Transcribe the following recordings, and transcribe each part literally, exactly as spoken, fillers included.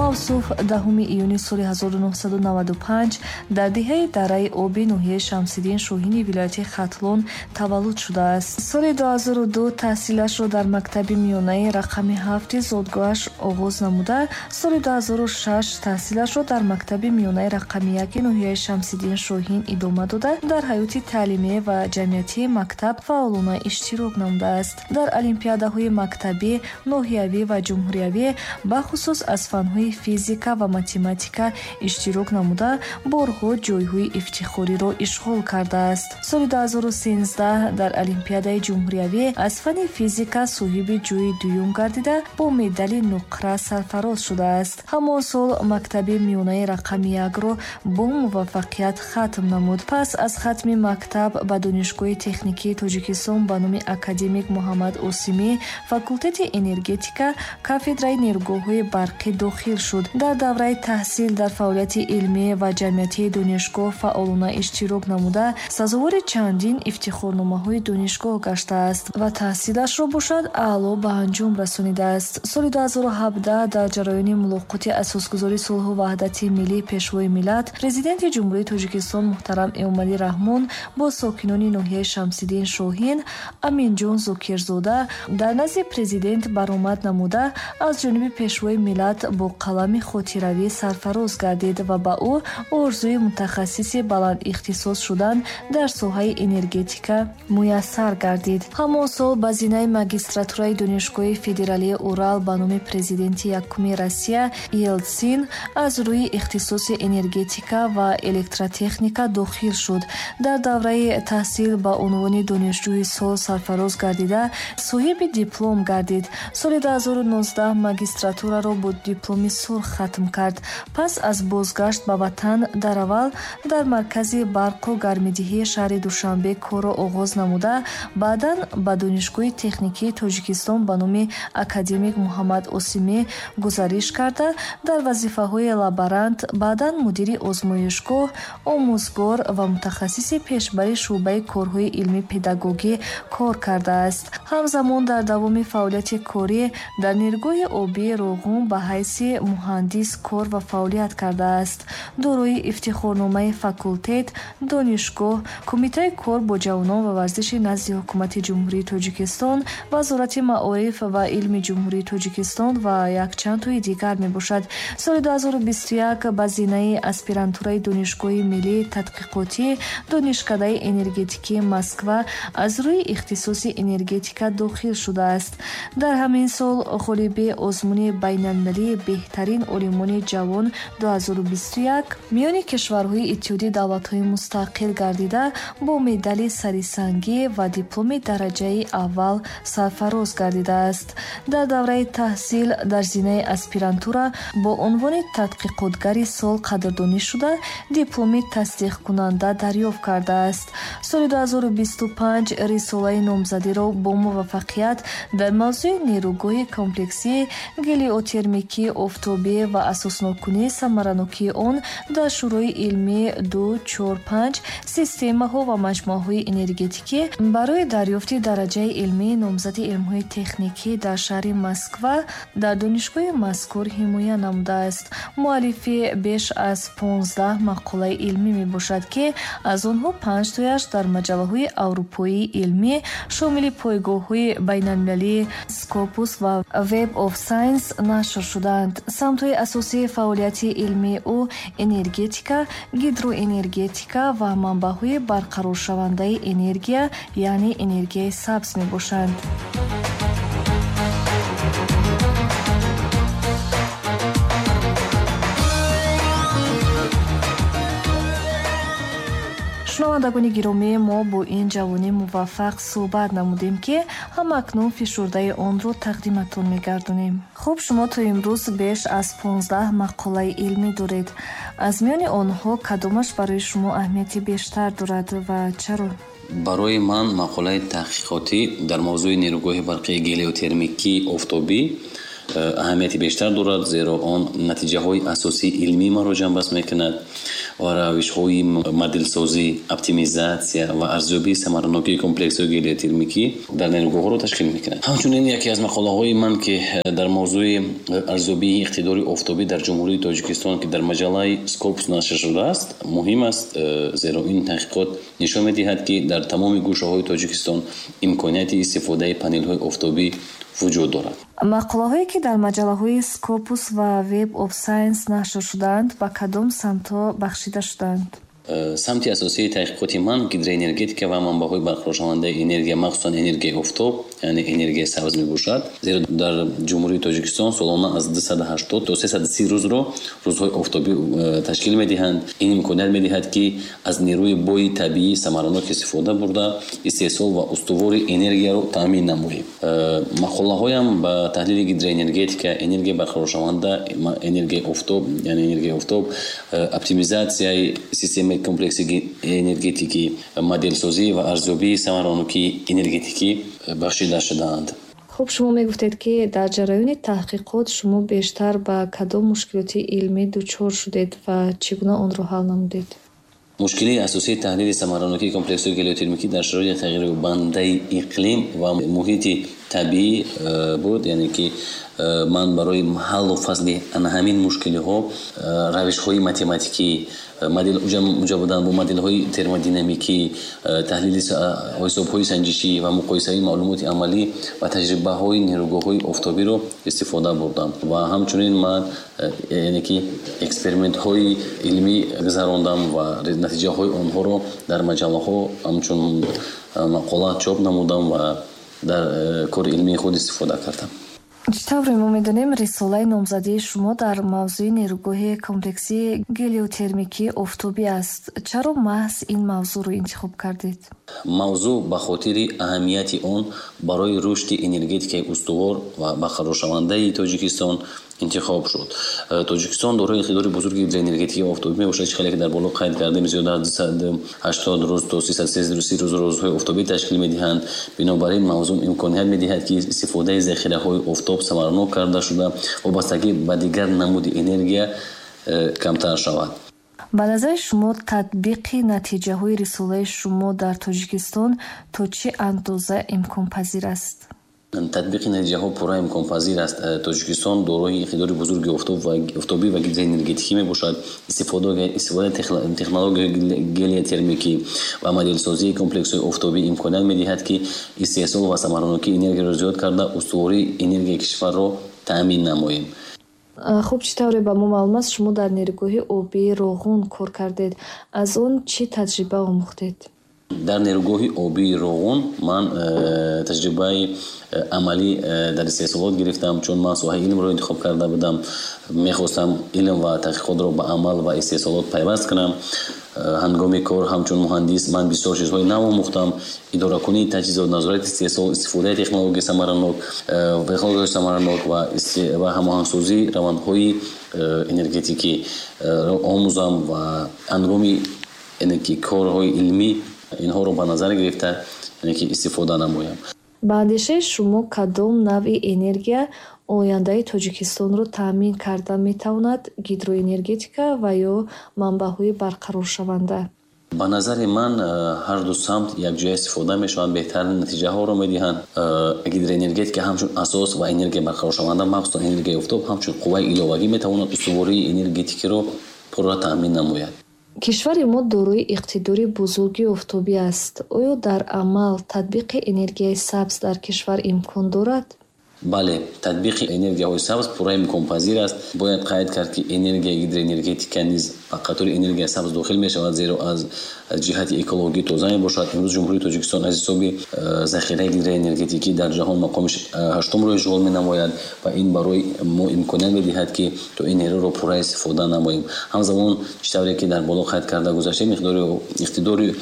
Мавсуф даҳуми июни соли ҳазору нӯҳсаду наваду панҷ дар деҳаи Дараи Оби ноҳияи Шамсиддин Шоҳини вилояти Хатлон таваллуд шудааст. Соли дуҳазору ду таҳсилашро дар мактаби миёнаи рақами ҳафти зодгоҳаш оғоз намуда, соли дуҳазору шаш таҳсилашро дар мактаби миёнаи рақами яки ноҳияи Шамсиддин Шоҳин идома дода, дар ҳаёти таълимӣ ва ҷамъиятии мактаб фаъолона иштирок намудааст. Дар олимпиадаҳои мактабӣ, ноҳиявӣ ва ҷумҳуриявӣ бахусус аз фанҳои физика ва математика иштирок намуда, борҳо ҷойҳои ифтихориро ишғол кардааст. Соли дуҳазору сенздаҳ дар олимпиадаи ҷумҳуриявӣ аз фанни физика соҳиби ҷойи дуюм гардида, бо медали нуқра сарфароз шудааст. Ҳамон сол мактаби миёнаи рақами якро бо муваффақият хатм намуд. Пас аз хатми мактаб ба Донишгоҳи техникии Тоҷикистон ба номи академик Муҳаммад Осимӣ, факултети энергетика, кафедраи нерӯгоҳҳои барқӣ дохил шуд. Дар давраи таҳсил дар фаъолияти илмӣ ва ҷамъиятии донишгоҳ фаъолона иштирок намуда, сазовори чандин ифтихорномаҳои донишгоҳ гаштааст ва таҳсилашро бошад аъло ба анҷом расонидааст. Соли дуҳазору ҳабдаҳ дар ҷараёни мулоқоти асосгузори сулҳу ваҳдати миллӣ, Пешвои миллат, Президенти Ҷумҳурии Тоҷикистон муҳтарам Эмомалӣ Раҳмон бо сокинони ноҳияи Шамсиддин Шоҳин Аминҷон Зокирзода дар назди президент баромад намуда, аз ҷониби Пешвои миллат бо қалами хотиравӣ сарфароз гардид ва ба ӯ орзуи мутахассиси баландихтисос шудан дар соҳаи энергетика муяссар гардид. Ҳамон сол ба зинаи магистратураи Донишгоҳи федералии Урал ба номи президенти якуми Россия Елтсин аз рӯи ихтисоси энергетика ва электротехника дохил шуд. Дар давраи таҳсил ба унвони донишҷӯи сол сарфароз гардида, соҳиби диплом гардид. Соли дуҳазору нуздаҳ магистратураро бо дипломи сурх хатм кард. Пас аз бозгашт ба ватан дар аввал дар маркази барқу гармидиҳии шаҳри Душанбе корро оғоз намуда, баъдан ба Донишгоҳи техникии Тоҷикистон ба номи академик Муҳаммад Осимӣ гузариш карда, дар вазифаҳои лаборант, баъдан мудири озмоишгоҳ, омӯзгор ва мутахассиси пешбари шӯъбаи корҳои илмӣ-педагогӣ кор кардааст. Ҳамзамон дар давоми фаъолияти корӣ дар нерӯгоҳи обии Роғун ба ҳайси муҳандис кор ва фаъолият кардааст. Дорои ифтихорномаи факултет, донишгоҳ, Кумитаи кор бо ҷавонон ва варзиши назди Ҳукумати Ҷумҳурии Тоҷикистон, Вазорати маориф ва илми Ҷумҳурии Тоҷикистон ва якчанд тои дигар мебошад. Соли дуҳазору бисту як ба зинаи аспирантураи Донишгоҳи миллии тадқиқотӣ Донишкадаи энергетикии Москва аз рӯи ихтисоси энергетика дохил шудааст. Дар ҳамин сол ғолиби озмуни байналмилалии беҳтарин олимони ҷавон дуҳазору бисту як миёни кишварҳои Иттиҳоди давлатҳои мустақил гардида, бо медали сарисангӣ ва дипломи дараҷаи аввал сарфароз гардидааст. Дар давраи таҳсил дар зинаи аспирантура бо унвони тадқиқотгари сол қадрдонӣ шуда, дипломи тасдиқкунанда дарёфт кардааст. Соли дуҳазору бисту панҷ рисолаи номзадиро бо муваффақият дар мавзӯи нерӯгоҳи комплексии гелиотермикии офтобӣ ва асосноккунии самаранокии он дар Шӯрои илмии ду чор панҷ системаҳо ва маҷмӯаҳои энергетикӣ барои дарёфти дараҷаи илмии номзади илмҳои техникӣ дар шаҳри Москва дар донишгоҳи мазкур ҳимоя намудааст. Муаллифи беш аз понздаҳ мақолаи илмӣ мебошад, ки аз онҳо панҷ тояш дар маҷаллаҳои аврупоии илмӣ шомили пойгоҳҳои байналмилалии Scopus ва Web of Science нашр шудаанд. Самтҳои асосии фаъолияти илмии ӯ энергетика, гидроэнергетика ва манбаъҳои барқароршавандаи энергия, яъне энергияи сабз мебошанд. Шунавандагони гиромӣ, мо бо ин ҷавони муваффақ суҳбат намудем, ки ҳамакнун фишурдаи онро тақдиматон мегардонем. Хуб, шумо то имрӯз беш аз понздаҳ мақолаи илмӣ доред. Аз миёни онҳо кадомаш барои шумо аҳамияти бештар дорад ва чаро? Барои ман мақолаи таҳқиқотӣ дар мавзӯи нерӯгоҳи барқии гелиотермикии офтобӣ аҳамияти бештар дорад, зеро он натиҷаҳои асосии илмии маро ҷамъбаст мекунад ва равишҳои моделсозӣ, оптимизатсия ва арзёбии самаранокии комплексҳои гелиотермикӣ дар нерӯгоҳҳоро ташкил мекунад. Ҳамчунин яке аз мақолаҳои ман, ки дар мавзӯи арзёбии иқтидори офтобӣ дар Ҷумҳурии Тоҷикистон, ки дар маҷаллаи Scopus нашр шудааст, муҳим аст, зеро ин таҳқиқот нишон медиҳад, ки дар тамоми гӯшаҳои Тоҷикистон имконияти истифодаи панелҳои офтобӣ вуҷуд дорад. Мақолаҳое, ки дар маҷаллаҳои Scopus ва Web of Science нашр шудаанд, ба кадом самтҳо бахшида шудаанд? Самти асосии таҳқиқоти ман гидроэнергетика ва манбаъҳои барқароршавандаи энергия, махсусан энергияи офтоб, яъне энергияи сабз мебошад. Зеро дар Ҷумҳурии Тоҷикистон солона аз дусаду ҳаштод то сесаду си рӯзро рӯзҳои офтобӣ ташкил медиҳанд. Ин имконият медиҳад, ки аз нерӯи бои табиӣ самаранок истифода бурда, истеҳсол ва устувори энергияро таъмин намоем. Мақолаҳоям ба таҳлили гидроэнергетика, энергияи барқароршаванда, энергияи офтоб, яъне энергияи офтоб, оптимизатсияи системаи комплекси энергетикӣ, моделсозӣ ва арзёбии самаранокии энергетикӣ бахшида шудаанд. Хуб, шумо мегуфтед, ки дар ҷараёни таҳқиқот шумо бештар ба кадом мушкилоти илмӣ дучор шудед ва чӣ гуна онро ҳал намудед? Мушкилии асосии таҳлили самаранокии комплексҳои гелиотермикӣ дар шароити тағйирёбандаи иқлим ва муҳити табиӣ буд, яъне ки ман барои ҳаллу фасли ҳамин мушкилиҳо равишҳои математикӣ, модел уҷа буданд бо моделҳои термодинамикӣ, таҳлили ҳисобҳои санҷишӣ ва муқоисаи маълумоти амалӣ ва таҷрибаҳои нерӯгоҳҳои офтобиро истифода бурдам. Ва ҳамчунин ман яъне ки экспериментҳои илмӣ гузарондам ва натиҷаҳои онҳоро дар маҷаллаҳо ҳамчун мақола чоп намудам ва дар кори илмии худ истифода кардам. Чӣ тавре мо медонем, рисолаи номзадии шумо дар мавзӯи нерӯгоҳи комплексии гелиотермикии офтобӣ аст. Чаро маҳз ин мавзӯъро интихоб кардед? Мавзӯъ ба хотири аҳамияти он барои рушди энергетикаи устувор ва барқароршавандаи Тоҷикистон интихоб шуд. Тоҷикистон дорои иқтидори бузурги гидроэнергетикии офтобӣ мебошад, чӣ хеле ки дар боло қайд кардем, зиёда аз дусаду ҳаштод рӯз то сесаду си рӯз рӯзҳои офтобӣ ташкил медиҳанд. Бинобар ин мавзӯъ имконият медиҳад, ки истифодаи захираҳои офтоб самаранок карда шуда, вобастагӣ ба дигар намуди энергия камтар шавад. Ба назари шумо татбиқи натиҷаҳои рисолаи шумо дар Тоҷикистон то чӣ андоза имконпазир аст? Татбиқи натиҷаҳо пурра имконпазир аст. Тоҷикистон дорои иқтидори бузурги офтобӣ ва гидроэнергетикӣ мебошад. Истифодаи технологияи гелиотермикӣ ва моделсозии комплексҳои офтобӣ имконият медиҳад, ки истеҳсол ва самаранокии энергияро зиёд карда, устувории энергияи кишварро таъмин намоем. Хуб, чӣ тавре ба мо маълум аст, шумо дар нерӯгоҳи обии Роғун кор кардед. Аз он чӣ таҷриба омӯхтед? Дар нерӯгоҳи обии Роғун ман таҷрибаи амалӣ дар истеҳсолот гирифтам, чун ман соҳаи илмро интихоб карда будам. Мехостам илм ва таҳқиқотро ба амал ва истеҳсолот пайваст кунам. Ҳангоми кор ҳамчун муҳандис ман бисёр чизҳои нав омӯхтам: идоракунии таҷҳизот, назорати истеҳсол, истифодаи технологияи самаранок, технологияи самаранок ва ҳамоҳангсозии равандҳои энергетикӣ омӯзам ва ҳангоми ки корҳои илмӣ инҳоро ба назар гирифта ки истифода намоям. Ба андешаи шумо кадом навъи энергия ояндаи Тоҷикистонро таъмин карда метавонад: гидроэнергетика ва ё манбаъҳои барқароршаванда? Ба назари ман ҳар ду самт якҷоя истифода мешаванд, беҳтарин натиҷаҳоро медиҳанд. Гидроэнергетика ҳамчун асос ва энергияи барқароршаванда, махсусан энергияи офтоб, ҳамчун қувваи иловагӣ метавонад устувории энергетикиро пурра таъмин намояд. Кишвари мо дорои иқтидори бузурги офтобӣ аст. Оё дар амал татбиқи энергияи сабз дар кишвар имкон дорад? Бале, татбиқи энергияҳои сабз пурра имконпазир аст. Бояд қайд кард, ки энергияи гидроэнергетика низ ба қатори энергияи сабз дохил мешавад, зеро аз ҷиҳати экологӣ тоза мебошад. Имрӯз Ҷумҳурии Тоҷикистон аз ҳисоби захираи гидроэнергетикӣ дар ҷаҳон мақоми ҳаштумро ишғол менамояд ва ин барои мо имконият медиҳад, ки то ин нерӯро пурра истифода намоем. Ҳамзамон, чӣ тавре ки дар боло қайд карда гузаштем, иқтидори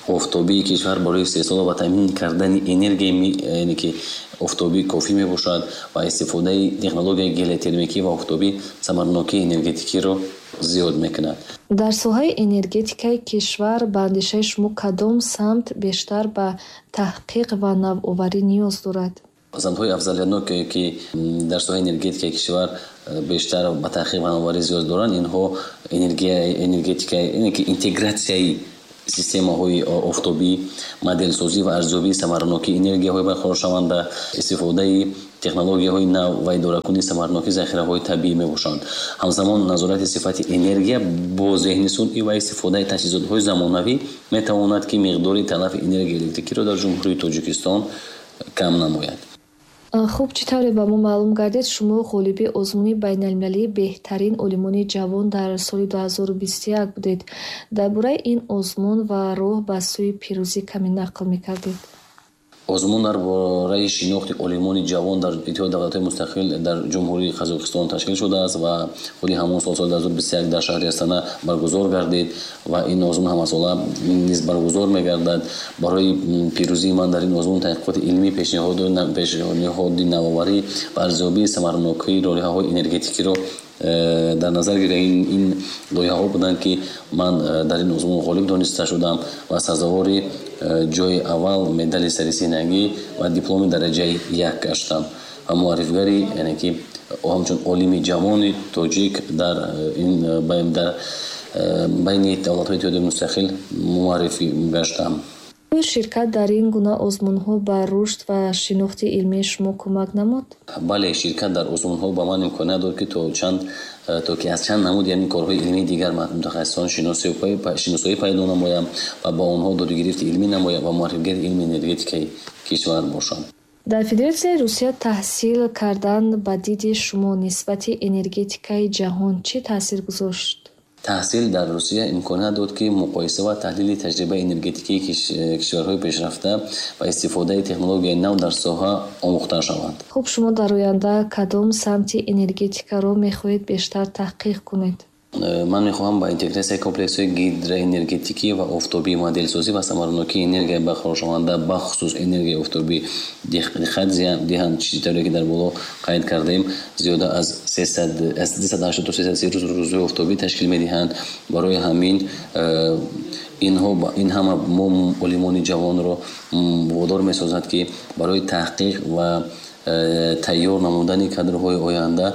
офтобии кишвар барои истеҳсол ва таъмин кардани энергияи ки офтобӣ кофӣ мебошад ва истифодаи технологияи гелиотермикӣ ва офтобӣ самаранокии энергетикиро зиёд мекунад. Дар соҳаи энергетикаи кишвар ба андешаи шумо кадом самт бештар ба таҳқиқ ва навоварӣ ниёз дорад? Самтҳои афзалиятнок, ки дар соҳаи энергетикаи кишвар бештар ба таҳқиқ ва навоварӣ зиёд доранд, инҳо энергетика, интегратсияи системаҳои офтобӣ, моделсозӣ ва арзёбии самаранокии энергияҳои барқароршаванда, истифодаи технологияҳои нав ва идоракунии самаранокии захираҳои табиӣ мебошанд. Ҳамзамон назорати сифати энергия бо зеҳни сунъӣ ва истифодаи таҷҳизотҳои замонавӣ метавонад, ки миқдори талафи энергияи электрикиро дар Ҷумҳурии Тоҷикистон кам намояд. Хуб, чӣ тавре ба мо маълум гардид, шумо ғолиби озмуни байналмилалии беҳтарин олимони ҷавон дар соли дуҳазору бисту як будед. Дар бораи ин озмун ва роҳ ба сӯи пирӯзӣ каме нақл мекардед. Озмун дар бораи шинохти олимони ҷавон дар Иттиҳоди давлатҳои мустақил дар Ҷумҳурии Қазоқистон ташкил шудааст ва худи ҳамон сол, соли дуҳазору бисту як дар шаҳри Астана баргузор гардид ва ин озмун ҳамасола низ баргузор мегардад. Барои пирӯзии ман дар ин озмун таҳқиқоти илмӣ, пешниҳоди навоварӣ ва арзёбии самаранокии лоиҳаҳои энергетикиро дар назар гирифта. Ин лоиҳаҳо буданд, ки ман дар ин озмун ғолиб дониста шудам ва сазовори ҷои аввал, медали сарисинагӣ ва дипломи дараҷаи як гаштам ва муаррифгари, яъне ки ҳамчун олими ҷавони тоҷик дар ин дар байни давлатҳои иттиҳоди мустақил муаррифӣ гаштам. Оё ширкат дар ин гуна озмунҳо ба рушд ва шинохти илмии шумо кӯмак намуд? Бале, ширкат дар озмунҳо ба ман имконият дод, ки то чанд то ки аз чанд намуд, яъне корҳои илмии дигар мутахассисон шиносоӣ пайдо намоям ва ба онҳо додугирифти илмӣ намоям ва муаррифгари илми энергетикаи кишвар бошам. Дар Федератсияи Русия таҳсил кардан ба диди шумо нисбати энергетикаи ҷаҳон чӣ таъсир гузошт? Таҳсил дар Русия имконият дод, ки муқоиса ва таҳлили таҷрибаи энергетикии кишварҳои пешрафта ва истифодаи технологияи нав дар соҳа омӯхта шаванд. Хуб, шумо дар оянда кадом самти энергетикаро мехоҳед бештар таҳқиқ кунед? Ман мехоҳам ба интегратсияи комплексҳои гидроэнергетикӣ ва офтобӣ, моделсозӣ ва самаранокии энергияи барқароршаванда, бахусус энергияи офтобӣ диққат диҳам. Чӣ тавре ки дар боло қайд кардем, зиёда аз дусаду ҳаштод то сесаду си рӯз рӯзҳои офтобӣ ташкил медиҳанд. Барои ҳамин инҳо ин ҳама мо олимони ҷавонро водор месозад, ки барои таҳқиқ ва тайёр намудани кадрҳои оянда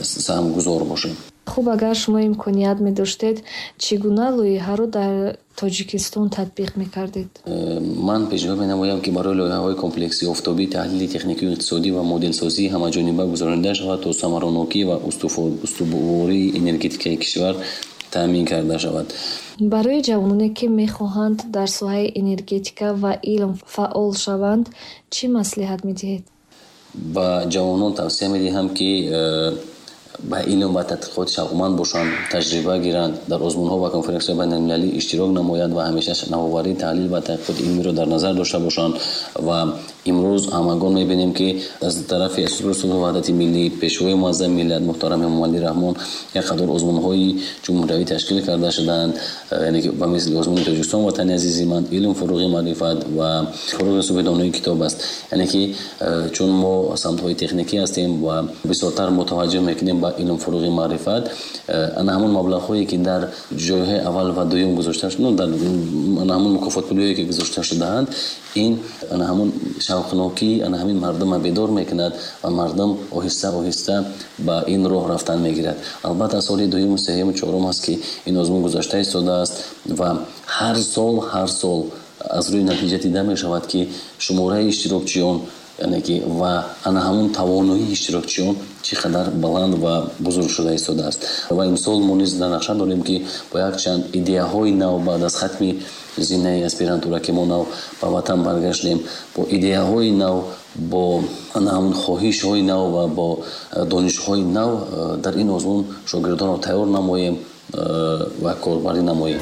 саҳмгузор бошем. Хуб, агар шумо имконият медоштед, чӣ гуна лоиҳаро дар Тоҷикистон татбиқ мекардед? Ман пешниҳод менамоям, ки барои лоиҳаҳои комплексии офтобӣ таҳлили техникию иқтисодӣ ва моделсозии ҳамаҷониба гузаронида шавад, то самаранокӣ ва устувории энергетикаи кишвар таъмин карда шавад. Барои ҷавононе, ки мехоҳанд дар соҳаи энергетика ва илм фаъол шаванд, чӣ маслиҳат медиҳед? Ба ҷавонон тавсия медиҳам, ки ба илм ва тадқиқот шавқманд бошанд, таҷриба гиранд, дар озмунҳо ва конференсияҳои байналмилалӣ иштирок намоянд ва ҳамеша навоварӣ, таҳлил ва таҳқиқоти илмиро дар назар дошта бошанд. Ва имрӯз ҳамагон мебинем, ки аз тарафи Асосгузори сулҳу ваҳдати миллӣ, Пешвои муаззами миллат муҳтарам Эмомалӣ Раҳмон як қатор озмунҳои ҷумҳуриявӣ ташкил карда шудаанд, яъне ки ба мисли озмуни Тоҷикистон ватани азизи ман, илм фуруғи маърифат ва фуруғи субҳи донои китоб аст. Яъне ки чун мо самтҳои техникӣ ҳастем ва бисёртар мутаваҷҷӯҳ мекунем ба илм фуруғи маърифат, ана ҳамон маблағҳое, ки дар ҷойҳои аввал ва дуюм гузошта шуданд, дар ана ҳамон мукофотпулиҳое, ки гузошта шудаанд, ин ана ҳамон шавқнокӣ ана ҳамин мардумро бедор мекунад ва мардум оҳиста оҳиста ба ин роҳ рафтан мегирад. Албатта соли дуюму сеюму чорум аст, ки ин озмун гузашта истодааст ва ҳар сол ҳар сол аз рӯи натиҷа дида мешавад, ки шумораи иштирокчиён, яъне ки ва ана ҳамон тавоноии иштирокчиён чӣ қадар баланд ва бузург шуда истодааст. Ва имсол мо низ дар нақша дорем, ки бо якчанд идеяҳои нав баъд аз хатми зинаи аспирантура, ки мо нав ба ватан баргаштем, бо идеяҳои нав, бо ана ҳамон хоҳишҳои нав ва бо донишҳои нав дар ин озмун шогирдонро тайёр намоем ва корбарӣ намоем.